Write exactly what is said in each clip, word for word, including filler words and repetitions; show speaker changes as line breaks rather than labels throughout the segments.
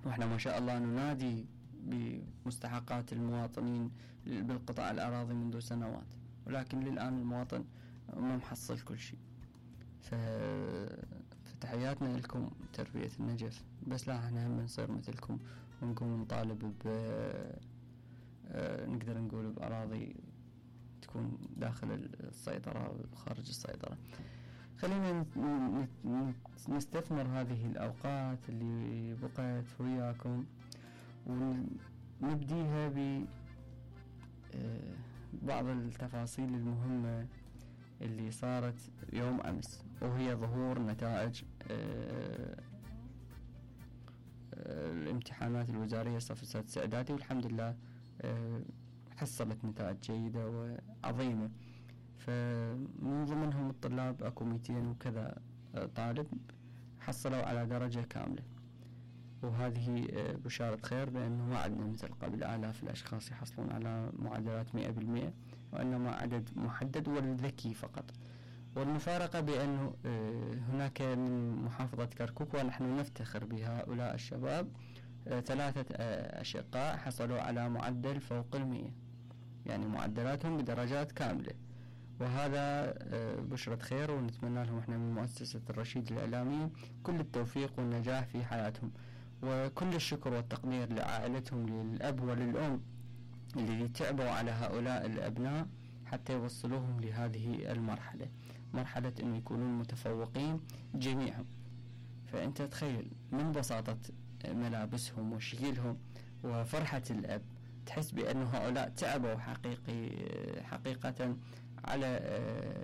واحنا ما شاء الله ننادي بمستحقات المواطنين بالقطاع الأراضي منذ سنوات، ولكن للآن المواطن ما محصل كل شيء. فتحياتنا لكم تربية النجف، بس لا احنا هم نصير مثلكم ونقوم نطالب ب نقدر نقول بأراضي تكون داخل السيطرة وخارج السيطرة. خلينا نستثمر هذه الأوقات اللي بقيت وياكم ونبديها ببعض التفاصيل المهمة اللي صارت يوم أمس، وهي ظهور نتائج الامتحانات الوزارية صف السادس إعدادي، والحمد لله حصلت نتائج جيدة وعظيمة. فمن ضمنهم الطلاب أكو مئتين وكذا طالب حصلوا على درجة كاملة، وهذه بشارة خير، لأنه ما عندنا مثل قبل آلاف الأشخاص يحصلون على معدلات مئة بالمئة، وإنما عدد محدد والذكي فقط. والمفارقة بأنه هناك من محافظة كركوك، ونحن نفتخر بهؤلاء الشباب، ثلاثة أشقاء حصلوا على معدل فوق المئة، يعني معدلاتهم بدرجات كاملة، وهذا بشرة خير، ونتمنى لهم احنا من مؤسسة الرشيد الإعلامية كل التوفيق والنجاح في حياتهم، وكل الشكر والتقدير لعائلتهم، للأب وللأم اللي تعبوا على هؤلاء الأبناء حتى يوصلوهم لهذه المرحلة، مرحلة أن يكونون متفوقين جميعهم. فأنت تخيل من بساطة ملابسهم وشكلهم وفرحة الأب، تحس بأن هؤلاء تعبوا حقيقي حقيقة على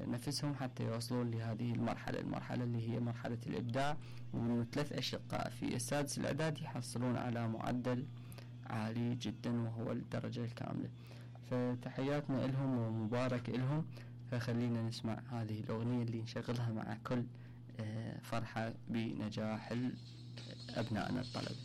نفسهم حتى يوصلون لهذه المرحلة المرحلة اللي هي مرحلة الإبداع. ومن ثلاث أشقاء في السادس الإعدادي يحصلون على معدل عالي جدا وهو الدرجة الكاملة، فتحياتنا لهم ومبارك لهم. فخلينا نسمع هذه الأغنية اللي نشغلها مع كل فرحة بنجاح أبنائنا الطلبة.